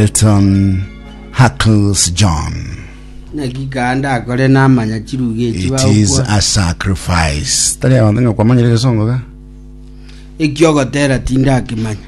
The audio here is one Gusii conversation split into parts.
Elton Huckles John. Naki kande akore namanya chiruga echi It is bagokwana. a sacrifice. Tari abanto ng'a kwamanyire egesongo ga? Ekiogotera tindakemanya.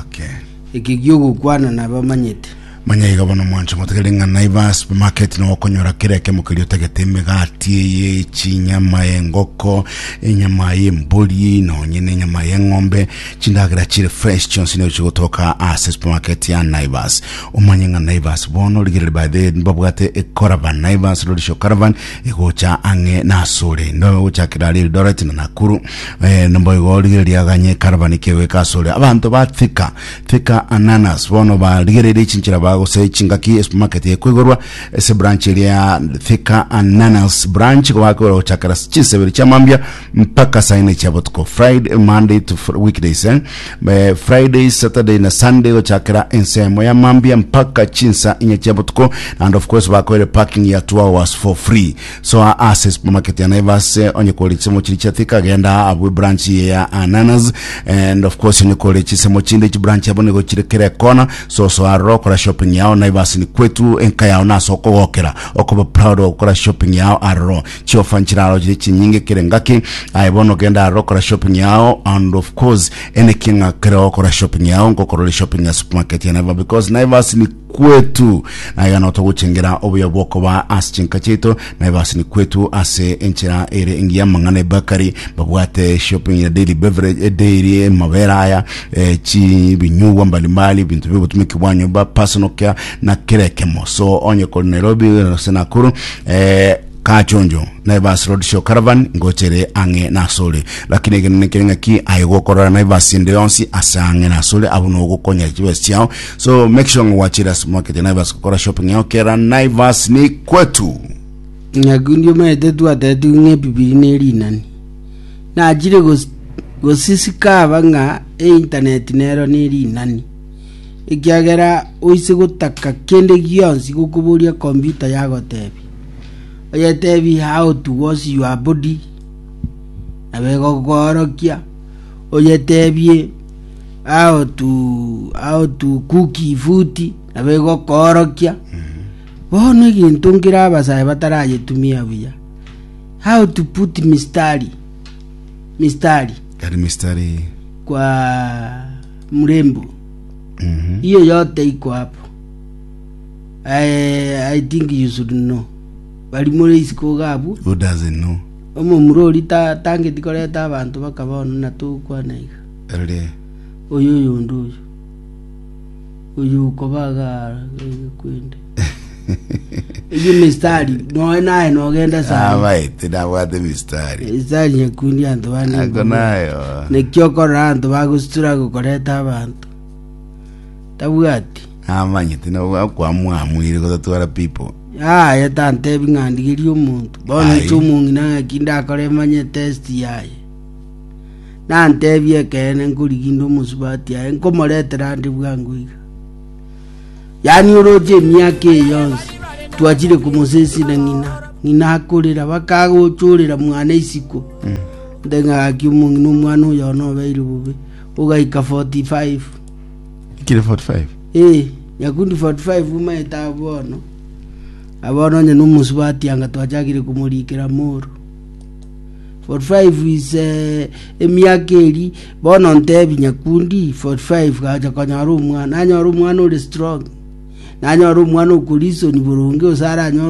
Okay. Eke gi'ogokwana nabamanyete. Manya iga bono mwancho motegere ng'a Naivas supermarket nigo okonyora kera ekemo keria otagete emegati eye chinyama engoko enyama y'embori nonye na enyama y'eng'ombe chindagera chire fresh chionsi nigo chigotoka ase supermarket ya Naivas omanye ng'a Naivas bono rigereria by the way mbabwate ecaravan Naivas Roadshow caravan egocha ang'e nasore ndo gochakera aria Eldoret na Nakuru eh, nomboigo rigereria aganye caravan kegoika asore abanto ba Thika Thika Ananas bono barigereire chinchera bagose chingaki esupermarket ekoigorwa ase branch eria ya Thika Ananas branch gobakoigora gochakera chinsebere chia mambia mpaka saa ine chia botuko Friday Monday to fr weekdays eh? Eh, Friday Saturday na Sunday gochakera ensemo ya mambia mpaka chinsa inye chia botuko and of course bakoire parking ya 2 hours for free so ase supermarket ya Naivas eh, onye kore chisemo chiri chia Thika genda abwe branch ya Ananas and of course onye kore chisemo chinde chibranch abo nigo chire kera ekona so so aroro kora shopping yao Naivas ni kwetu enka yao nase okogokera okoba proud okora shopping yao aroro chiofa nchiraro chire chinyinge kere ngaki aye bono genda aroro kora shopping yao and of course ene king'a kere okora shopping yao ngokorore shopping ya supermarket ya Naivas because Naivas ni kwetu na iga no togochengera obuya bw'okoba ase chinka chiaito Naivas ni kwetu ase enchera ere engiya amang'ana ebakari babwate shopping ya daily beverage eh, daily amabere aya eh, chibinyugwa mbalimbali ebinto biobotumiki bwa nyomba personal care na kera ekemo so onye kori Nairobi gose Nakuru eh, Kachonjo, Naivas Road Show Caravan ngochere ang'e nasore. Lakini egenene kere ng'aki aye gokorora Naivas ende yonsi ase ang'e nasore abwo nogokonya chibesa chiao. So make sure ng'a gwachire ase market ya Naivas gokora shopping yao kera Naivas ni kwetu. Nyakundi omanyete twatetigwe ng'a ebibiri ne rinani. Nachire gos- gosisikaba ng'a eintaneti nero ne rinani. Ekiagera oise gotaka kende gionsi gokoboria computer yagotebia. Oyetebie how to wash your body, nabo egokoorokia. Oyetebie how to how to cook food, nabo egokoorokia. Bono egento nkere abasae batarayetumia buya, how to put mistari mistari Kari mistari. kwa mrembo hiyo yote iko hapo. I, I think you should know. Bari more isiko iga abwo. Who doesn't know? Omomura oria ta, tangeti koreta abanto baka bono na togokwana iga. Erere. Oyo oyonde oyo. Oyo okoba iga iga kwende. Eyio mistari noe naye nogenda sana. Abaete nabwate mistari. Mistari nyakundi anto bande. Ako nayo. Naki okorora abanto bagositura gokoreta abanto. Tabwati. Namanyete na kwamwamuire gotatwara people. Yaya tantebi ng'a ndigerie omonto. Bono Aye. inche omong'ina ng'aki ndakore manye test yaye. Nantebie ekeene nkorigia inde omosubati aye nkomoretera ande bwango iga. Yaani oroche emiaka eye yonsi twachire komosesina ng'ina, ng'ina akorera bakagochorera mwana isiko. Nte ng'a gaki omong'ina omwana oyo one obeire bobe, ogaika 45. Kire 45. Eh, nyakundi 45 umaete abwo bono. Abono onye nomosubati anga twachakire komorikera moro. 45 is eh, emiaka eri bono ntebi nyakundi 45 gacha konyora omwana nanyora omwana ore strong nanyora omwana okorisoni boronge gose aranyore.